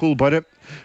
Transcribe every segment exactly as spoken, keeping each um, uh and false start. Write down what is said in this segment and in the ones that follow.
Cúl báire,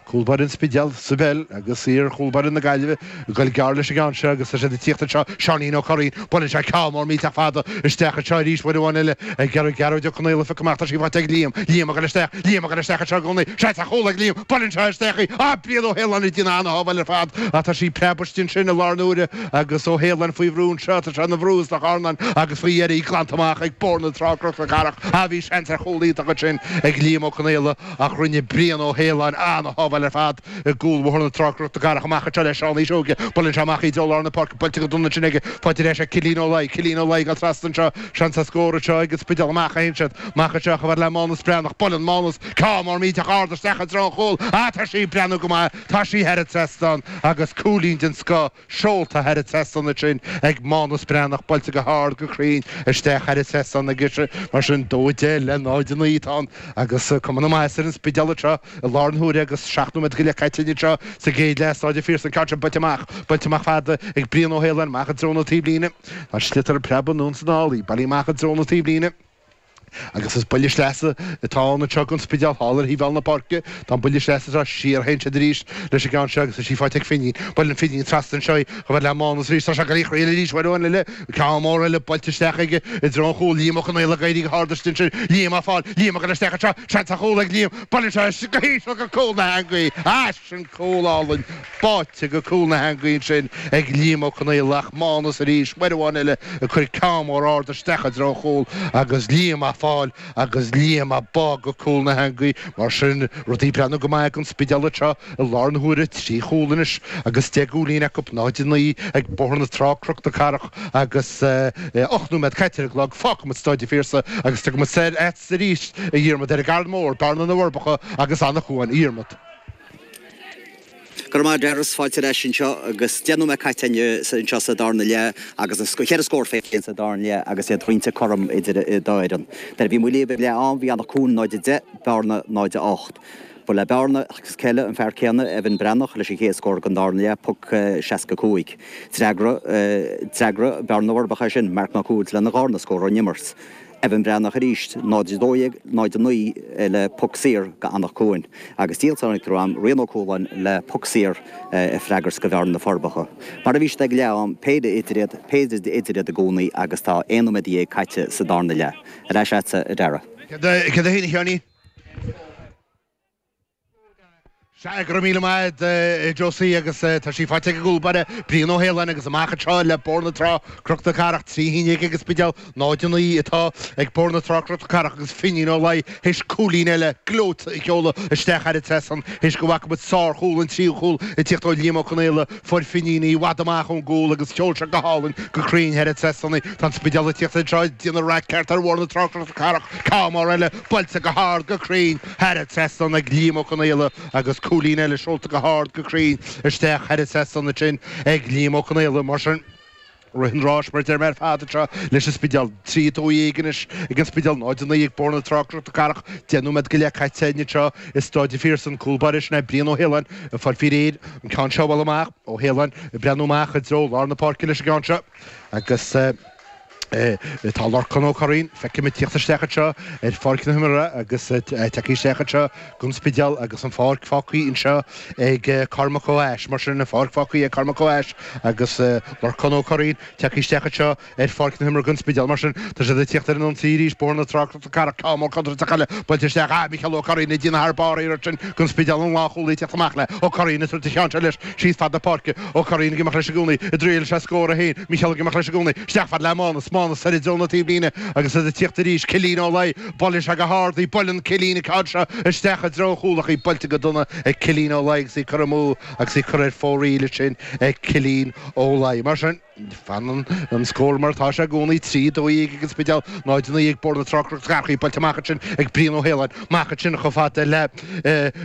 cúl báire an Spidéil sa bpeil agus iar chúl báire na Gaillimhe ag goil gearr leis an gceann seo agus tá siad ag tíocht anseo, Seáinín Ó Curraoin, buaileann sé ceann mór millteach fada isteach anseo arís uair amháin eile ag iarraidh Gearóid Ó Conaola a phiocadh amach, tá sí faighte ag Liam, Liam ag goil isteach, Liam ag goil isteach anseo i gcónaí, seans ar chúl ag Liam, buaileann sé isteach í, ah Brian Ó hAoláin ag déanamh ana-shábháil ar fad ach tá sí preabtha istigh ansin i lár na huaire agus Ó hAoláin faoi bhrú anseo, tá sé ina bhrú is nach arnán agus faoi dheireadh í glanta amach ag Bóthar na Trá Cnoc na Cathrach, ah bhí seans ar chúl iontach ansin ag Liam Ó Conaola ach rinne Brian Ó hAoláin ana-shábháil ar fad i gcúl Bhóthar na Trá Cnoc na Cathrach amach anseo le Seán Uí Seoige. Buaileann sé amach í i dtreo lár na páirce, buailte go dona ansin aige, faighte ar ais ag Cillian Ó Laoi. Cillian Ó Laoi ag dul trasna anseo, seans ar scór anseo ag an Spidéal. Amach a théann siad, amach anseo chomh fada le Mánas Breathnach. Buaileann Mánas ceann mór millteach ard isteach i dtreo an chúil. Ah, tá sí ag breathnú go maith, tá sí thar an trasnán agus cúilín den scoth seolta thar an trasnán ansin ag Mánas Breathnach, buailte go hard go cruinn isteach thar an trasnán aige. Mar sin, dó a deich le náid a naoi atá ann agus cuma na maitheasa ar an Spidéal anseo i lár na huaire agus seacht nóiméad go leith caite anseo sa gcéad leath. Staid an Phiarsaigh, an ceann seo buailte amach, buailte amach fada ag Brian Ó hAoláin, amach i dtreo na taobhlíne. Tá an sliotar ag preabadh anonn is anall, í bailithe amach i dtreo na taobhlíne. Agus is buille sleasa atá ann anseo don Spidéal thall ar thaobh thall na páirce. Tá an buille sleasa seo siar a théann siad arís leis an gceann seo agus tá sí faighte ag Finín. Buaileann Finín trasna anseo í chomh fada le Mánas arís. Tá sé ag dul í a thriail arís uair amháin eile. Ceann mór eile buailte isteach aige i dtreo an chúil. Liam Ó Conaola ag éirí go hard istigh ansin. Liam á fáil. Liam ag dul isteach anseo. Seans ar chúl ag Liam. Buaileann sé go híseal go cúl na heangaí. Ah, sin cúl álainn. Báite go cúl na heangaí ansin ag Liam Ó Conaola ach Mánas arís uair amháin eile ag cur ceann mór ard isteach i dtreo an chúil agus Liam á fáil agus Liam á bá go cúl na heangaí. Mar sin, rudaí ag breathnú go maith ag an Spidéal anseo i lár na huaire, trí chúl anois agus deich gcúilín acu, náid a naoi ag Bóthar na Trá, Cnoc na Cathrach agus ocht nóiméad caite ar an gclog. Fágfaimid Staid an Phiarsaigh agus tiocfaimid soir agatsa arís, a Dhiarmaid, ar an gCarn Mór, Bearna na bhForbacha agus Anach Cuain. A Dhiarmaid. Go raibh maith agat, a Dhara, fáilte ar ais anseo agus deich nóiméad caite anseo sa darna leath agus na ceithre scór féin sa darna leath agus iad roinnte cothrom idir an dá fhoireann. Nuair a bhí muid libh ag leath am bhí Anach Cuain náid a deich, Bearna náid a ocht. Ba le Bearna agus céile an fear céanna, Evan Breathnach, leis an chéad scór den darna leath, poc seasca cúig. D'fhreagra d'fhreagra Bearna na bhForbacha é sin, Marc Mac Uaid lena dharna scór ón imirt. Evan Breathnach arís, náid a dó dhéag, náid a naoi le poc saor go Anach Cuain agus díoltáin ag am, Rian Ó Cualáin le poc saor ag freagairt go Bhearna na Forbacha. Mar a bhí siad ag leath am, péire idir iad, péire idir iad i gcónaí agus tá aon nóiméad dhéag caite sa darna leath. Ar ais agatsa, a Dhara. Céard é féin, a Sheáinín? Sea, go raibh míle maith agat, a Josie, agus tá sí faighte ag an gcúl báire, Brian Ó hAoláin, agus amach anseo le Bóthar na Trá, Cnoc na Cathrach, trí haon déag ag an Spidéal, náid a naoi atá ag Bóthar na Trá, Cnoc na Cathrach, agus Finín Ó Laoi théis cúilín eile gleoite a sheoladh isteach thar an trasnán théis go bhfaca muid sárchúl, an tríú chúl, ag tíocht ó Liam Ó Conaola, fuair Finín í i bhfad amach ón gcúl agus sheol sé go hálainn go cruinn thar an trasnán í. Tá an Spidéal ag tíocht anseo ag déanamh raic ceart ar Bhóthar na Trá, Cnoc na Cathrach, ceann mór eile buailte go hard go cruinn thar an trasnán ag Liam Ó Conaola agus cúilín eile seolta go hard go cruinn isteach thar an trasnán ansin ag Liam Ó Conaola. Mar sin, rith an ráis mar a deir mé ar fad anseo leis an Spidéal. Trí a dó dhéag anois ag an Spidéal, náid a naoi ag Bóthar na Trá, Cnoc na Cathrach. Deich nóiméad go leith caite againn anseo i Stáid an Phiarsaigh. An cúl báire sin é Brian Ó hAoláin ag fáil faoi réir an ceann seo a bhualadh amach. Ó hAoláin ag breathnú amach i dtreo lár na páirce leis an gceann seo agus Tá Lorcán Ó Curraoin feicim ag tíocht isteach anseo ar pháirc na himeartha agus tagtha isteach anseo don Spidéal agus an pháirc fágtha anseo ag Cormac Ó hAis. Mar sin, an pháirc fágtha ag Cormac Ó hAis agus Lorcán Ó Curraoin tagtha isteach anseo ar pháirc na himeartha don Spidéal. Mar sin, tá siad ag tíocht ar an ionsaí arís, Bóthar na Trá, Cnoc na Cathrach, ceann mór contúirteach eile buailte isteach. Ah, Micheál Ó Curraoin ag déanamh thar barr iarracht sin don Spidéal an lánchúlaí ag tíocht amach le Ó Curraoin ag tabhairt an cheann seo leis síos fad na páirce. Ó Curraoin ag imeacht leis i gcónaí, i dtriail sé scór é féin, Micheál ag imeacht leis i gcónaí, isteach fad le Mánas, Mánas soir i dtreo na taobhlíne agus iad ag tíocht arís, Cillín Ó Laoi, buaileann sé go hard í, buaileann Cillín an ceann seo isteach i dtreo an chúil ach í buailte go dona ag Cillín Ó Laoi agus í curtha amú agus í curtha ar fóraoil ansin ag Cillín Ó Laoi. Mar sin. Fanann an scór mar atá sé i gcónaí, trí dó dhéag ag an Spidéal, náid a naoi ag Bóthar na Trá Cnoc na Cathrach, í buailte amach ansin ag Brian Ó hAoláin, amach ansin chomh fada le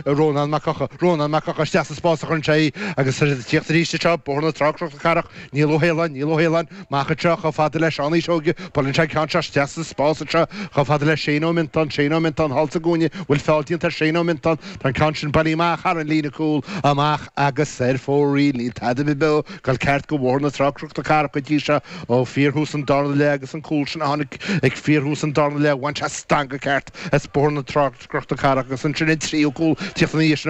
Rónán Mac Eocha, Rónán Mac Eocha isteach sa spás a chuireann sé í agus tá siad ag tíocht arís anseo, Bóthar na Trá Cnoc na Cathrach, Niall Ó hAoláin, Niall Ó hAoláin, amach anseo chomh fada le Seán Uí Seoige, buaileann sé an ceann seo isteach sa spás anseo chomh fada le Shane Ó Miontáin, Shane Ó Miontáin thall sa gcúinne, bhfuil feall déanta ar Shane Ó Miontáin, tá an ceann sin bailithe amach thar an líne cúl, amach agus ar fóraoil, níl tada beo. Ag dul ceart go Bhóthar na Trá Cnoc na na Cathrach go dtí seo ó fíorthús an darna leath agus an cúl sin a tháinig ag fíorthús an darna leath bhain sé stangadh ceart as Bóthar na Trá Cnoc na Cathrach agus ansin an tríú cúl tíocht ina dhiaidh sin.